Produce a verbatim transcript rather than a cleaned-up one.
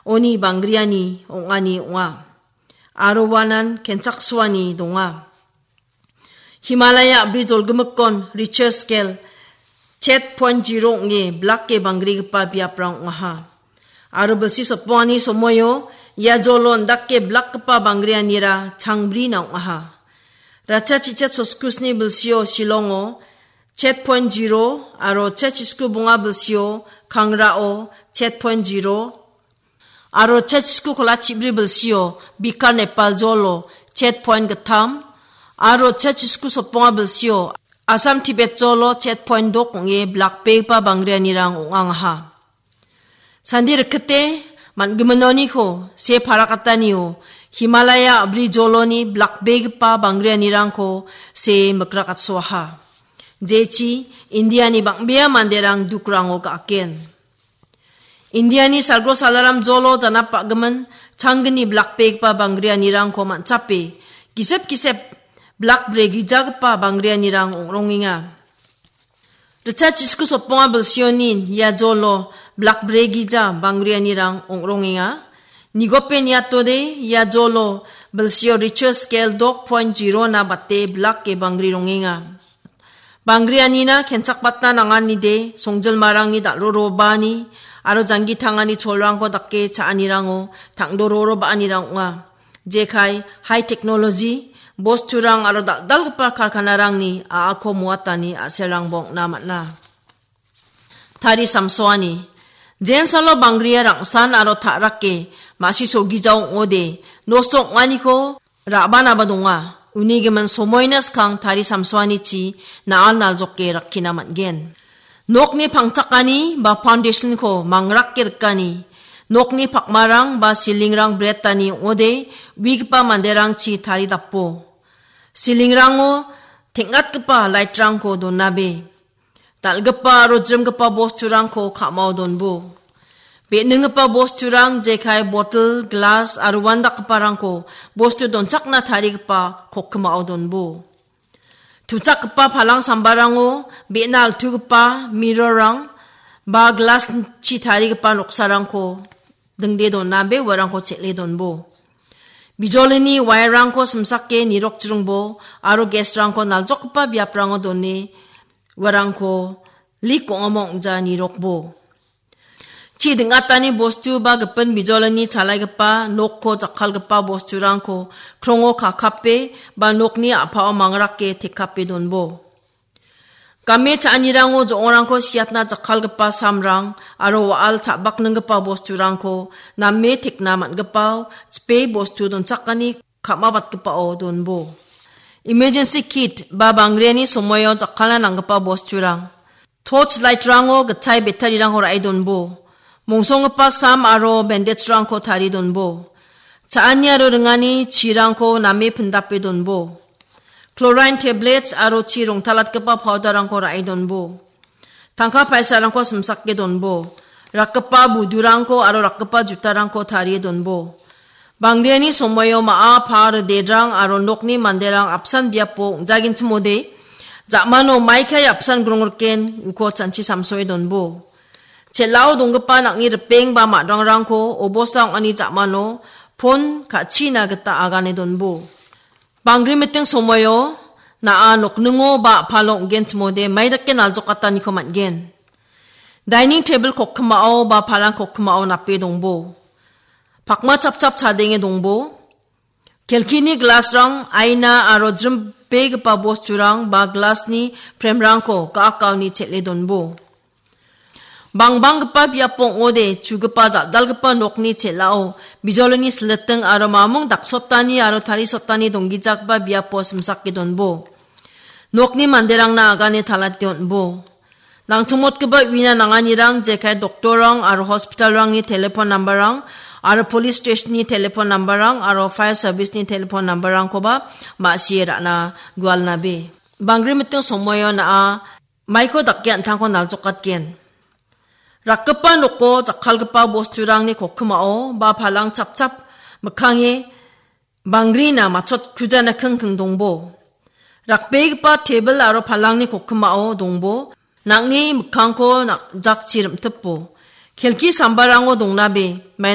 oni banggriani ong·ani ong·a. Aro uanan kenchaksoani donga. Himalaya a·bri jolgimikkon Richter scale chet point zero ong·e blake banggrigipa biaprang ong·aha. Aro bilsi sotbongani somoio ia jolo indake blakgipa banggrianira changbrina ong·aha. Ratcha chichet soskusni bilsio Shillongo chet point zero aro chet chisku bonga bilsio Kangrao chet point zero aro chet chisku kola chibri bilsio Bikar Nepal jolo chet point gittam aro chet chisku sotbonga bilsio Assam Tibet jolo chet point dok ong·e blakbegipa banggrianirang ong·angaha. Sandi rikite man·giminoniko se parakatanio Himalaya a·bri joloni blakbegipa banggrianirangko se mikrakatsoaha. Jechi Indiani bang·bea manderang dukrango ga·aken. Indiani salgro salaram jolo janap ba·gimin changgni blakbegipa banggrianirangko man·chape gisep gisep blakbre gijagipa banggrianirang ong·rongenga. Ritcha chisku sotbonga bilsionin ia jolo blakbre gija banggrianirang ong·rongenga. Nigope niatode ia jolo bilsio Richter scale dok point zero na bate blake banggri rongenga. Banggrianina kenchakbatna nanganide songjilmarangni dal·rorobani aro janggi tangani cholrangko dake cha·anirango tangdororo ba·anirang ong·a. Jekai high technology bosturang aro dal·dalgipa karkanarangni a·ako moatani a·selrangba ong·na man·a. Tari samsoani. Jensalo banggria rangsan aro ta·rake ma·si sogijao ong·ode nosto ong·aniko ra·banaba donga. Uni gimin somoina skang tari samsoanichi na·al naljoke rakkina man·gen. Nokni pangchakani ba foundation-ko mangrake rikani, nokni pakmarang ba silingrang bretani ong·ode uigipa manderangchi taridapo. Silingrango teng·atgipa light-rangko donabe. Dal·gipa aro jrimgipa bosturangko ka·mao donbo. Be·ninggipa bosturang jekai, botel, glas aro uandakgiparangko bostu donchakna tarigipa kokkimao donbo. Tuchakgipa palang sambarango be·na altugipa mirror-rang ba glas-chi tarigipa noksarangko dingde donabe uarangko chel·e donbo. Bijolini wire-rangko simsake nirokjringbo aro gas-rangko naljokgipa biaprango done uarangko lik ong·amo ong·ja nirokbo. Chi ding·atani bostu ba gipin bijolini chalaigipa nokko jakkalgipa bosturangko krongo kakape ba nokni a·pao mangrake tekape donbo. Game cha·anirango jo·ongrangko siatna jakkalgipa samrang aro wa·al cha·bakninggipa bosturangko name tekna man·gipao chipe bostu donchakani ka·mabatgipao donbo. Emergency kit ba banggriani somoio jakkalna nanggipa bosturang. Torch light-rango gitchai battery-rangko ra·e donbo. Mongsonggipa sam aro bandage-rangko tarie donbo. Cha·ani aro ringani chirangko name pindape donbo. Chlorine tablets aro chi rongtalatgipa powder-rangko ra·e donbo. Tangka paisarangko simsake donbo. Rakgipa budurangko aro rakgipa jutarangko tarie donbo. Banggriani somoio ma·a, pa, ridedrang aro nokni manderang apsan biapo ong·jagenchimode, ja·mano maikai apsan grongriken uko chanchi samsoe donbo. Chel·ao donggipa nang·ni ripeng ba ma·dranggrangko obosta ong·ani ja·mano pon ka·china gita agane donbo. Banggri miting somoio na·a nokningo ba a·palo ong·genchimode maidake naljokataniko man·gen. Dining tebil kokkimao ba palang kokkimao nape dongbo. Pakma chapchap chadenge dongbo. Kelkini glasrang, aina aro jrimbegipa bosturang ba glasni premrangko ga·akaoni chel·e donbo. Bangbanggipa biapo ong·ode, chugipa dal·dalgipa nokni chel·ao bijolini siliting aro mamung daksotani aro tarisotani donggijagipa biapo simsake donbo. Nokni manderangna agane talate on·bo. Nangchongmotgipa uina nanganirang jekai doktorrang aro hospitalrangni telefon nambarrang aro polis steshenni telefon nambarrang aro faia sabisni telefon nambarrangkoba ma·sie ra·na gualnabe. Banggri miting somoio na·a maiko dake an·tangko naljokatgen. Rakgipa noko jakkalgipa bosturangni kokkimao ba palang chapchap mikkange bangrina matchotkujana kingking dongbo. Rakbegipa tebil aro palangni kokkimao dongbo. Nang·ni mikkangko na-, jakchi rim·tipo. Kelki sambarango dongnabe, maina